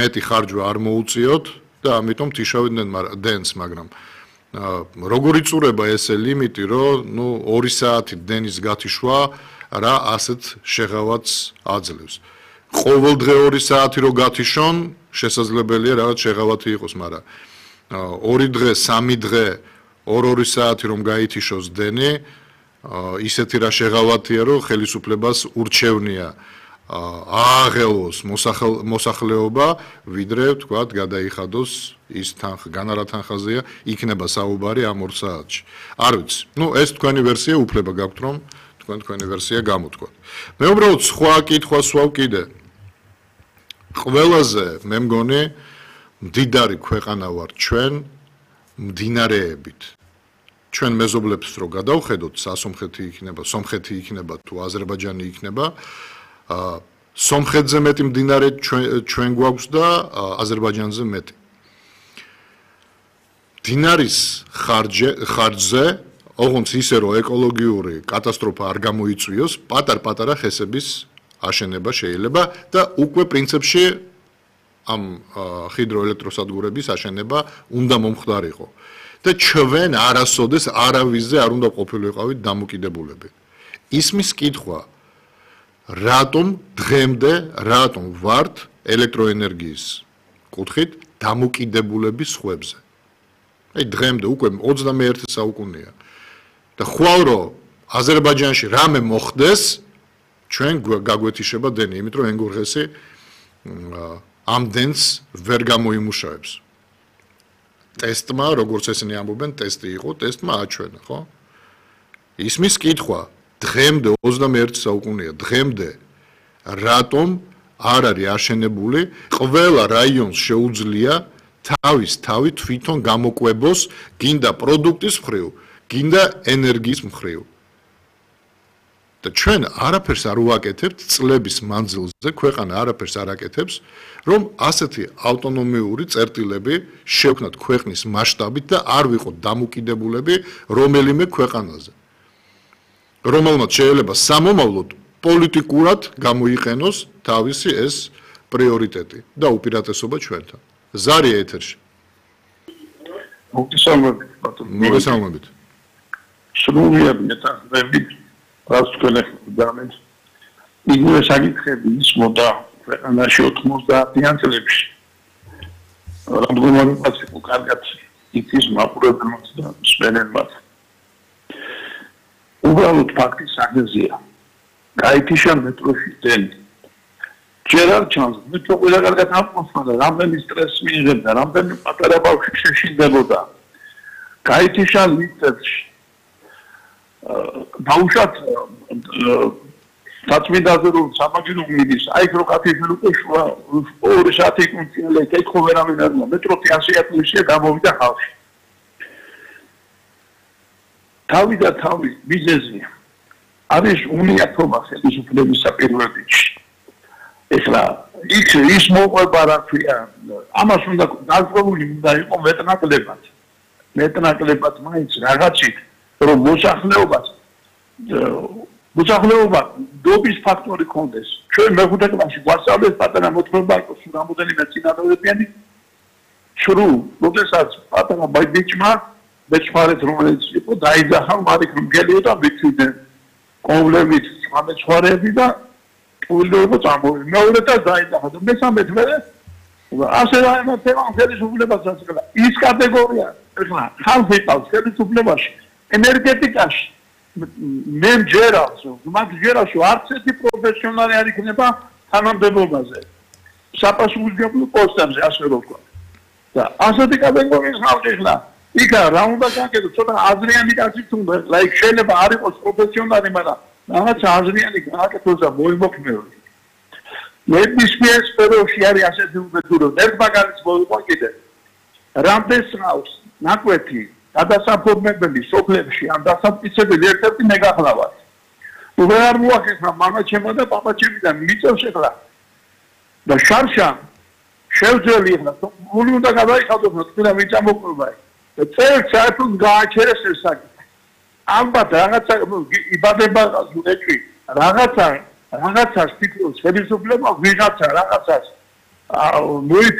მეტი ხარჯვა არ მოუწიოთ და ამიტომ თიშავდნენ დენს, მაგრამ როგორ იწურება ესე ლიმიტი, რომ 2 საათი დენის გათიშვა რა ასეთ შეღავათს აძლევს. ყოველდღე 2 საათი რო გათიშონ, შესაძლებელია რაღაც შეღავათი იყოს, მაგრამ 2 დღე, 3 დღე 2 საათი რომ გაითიშოს დენი, ისეთი რა შეღავათია, რომ ხელისუფლებას ურჩევნია ააღელოს მოსახლეობა, ვიდრე თქვათ გადაიხადოს ის განარა თანხაზეა, იქნება საუბარი ამ 2 საათში. არ ვიცი. ეს თქვენი ვერსია უფლება გაქვთ, რომ თქვენი ვერსია გამოთქვათ. მე უბრალოდ სხვა კითხვას ვსვავ კიდე. ყველაზე მე მგონი მდიდარი ქვეყანა ვართ ჩვენ მდინარეებით. ჩვენ მეზობლებს რო გადავხედოთ, სასომხეთი იქნება, სომხეთი იქნება თუ აზერბაიჯანი იქნება, სომხეთზე მეტი მდინარე ჩვენ გვაქვს და აზერბაიჯანზე მეტი. მდინარის ხარჯზე, ოღონდ ისე რომ ეკოლოგიური კატასტროფა არ გამოიწვიოს, პატარ-პატარა ხესების აშენება შეიძლება და უკვე პრინციპში ამ ჰიდროელექტროსადგურების აშენება უნდა მომხდარიყო. და ჩვენ არასოდეს არავისზე არ უნდა ყოფილიყავით დამოკიდებულები. ისმის კითხვა რატომ დღემდე რატომ ვართ ელექტროენერგიის კუთხით დამოკიდებულები სხვებზე? აი დღემდე უკვე 21 საუკუნეა. და ხვალ რომ აზერბაიჯანში რამე მოხდეს, ჩვენ გაგვეთიშება დენი, იმიტომ რომ ენგურღესი ამ დენს ვერ გამოიმუშავებს. ტესტმა, როგორც ესენი ამბობენ, ტესტი იყო, ტესტმა აჩვენა, ხო? ისმის კითხვა დღემდე 21 საუკუნეა, დღემდე რატომ არ არის აშენებული, ყველა რაიონს შეუძლია თავი თვითონ გამოკვებოს, გინდა პროდუქტის მხრივ, გინდა ენერგიის მხრივ. და ჩვენ არაფერს არ ვაკეთებთ წლების მანძილზე, ქვეყანა არაფერს არ აკეთებს, რომ ასეთი ავტონომიური წერტილები შევქნათ ქვეყნის მასშტაბით და არ ვიყოთ დამოკიდებულები რომელიმე ქვეყანაზე. რომელმაც შეიძლება სამომავლოდ პოლიტიკურად გამოიყენოს თავისი ეს პრიორიტეტი და უპირატესობა ჩვენთან. ზარია ეთერში. მოგესალმებით. სრულიად მეტახმებით, რაც თქვენ ეხმართ. იგივე საკითხები ისმოდა ქვეყანაში 90-იან წლებში. რამდენიმე პაციენტი კარგად იცის მაყურებელს და მსმენელს. უბრალოდ ფაქტი სახეზია. გაითიშა მეტროში დენი. ჯერ არ ჩანს, მეტრო ყველა კარგად ამყოფდა, რამდენი სტრესი მიიღებდა, რამდენი პატარა ბავშვი შეშინდებოდა. გაითიშა ლიფტებში. ბავშვად საწმიდაზე რომ სამაგირო მიდის, აი რო კაფეში უკვე 2 საათი კონცილე ეკითხო ვერავინ არ უნდა, მეტრო 100-ია გამოვიდა ხალხი. თავი მიზეზია. არის უნიათობა ხელისუფლების საპირველებში. ეხლა ის მოყვება რა ქვია, ამას უნდა დაზღვეული უნდა იყო მეტნაკლებად მაინც რაღაცით, რომ მოსახლეობა დობის ფაქტორი კონდეს. ჩვენ მეხუთე კლასში გვასწავლეს პატარა მოთხრობა იყოს რამოდენიმე წინადადებიანი შრუ, როდესაც პატარა ბიჭმა მეცხვარეთ რომელიც იყო დაიძახა მარიქ მგელიო და მიწვიდნენ კონვლებით სამეცხვარეები და უილოებო წამოვიდა. მეორეთა დაიძახა და მესამე თვე ასე რაიმათება ხელისუფლებას აწყდა. ის კატეგორია ეხლა ხალხი ყავს ხელისუფლებაში, ენერგეტიკაში. მე მჯერავს, მათ ჯერავს, არც ერთი პროფესიონალი არ იქნება თანამდებობაზე. საპასუხისმგებლო პოსტებზე ასე რომ ვთქვა. და ასეთი კატეგორიის ხალხი ხლა იქა რა უნდა გაკეთოს, ცოტა აზრიანი კაცი თუნდა, ლაიქ შეიძლება არ იყოს პროფესიონალი, მაგრამ რაღაც აზრიანი გააკეთოს და მოიმოქმედოს. ნებისმიერ სფეროში არის ასეთი უბედური, ერთ მაგალითს მოვიყვა კიდე. რამდენს ყავს ნაკვეთი გადასაფორმებელი სოფლებში ან დასამტკიცებელი ერთ-ერთი მეგახლავად. ვერ არ მოახერხა მამაჩემო და პაპაჩემიდან მიწევს ეხლა. და შარშა შევძელი ეხლა, გული უნდა გადაიხადოს, თქვენ მიწამოყვება. და წელს საერთოდ გააჩერეს ეს საკითხი. ამბად რაღაცა იბადება ზურეჭი, რაღაცას თითქოს ხელისუფლება ვიღაცა რაღაცას ნუი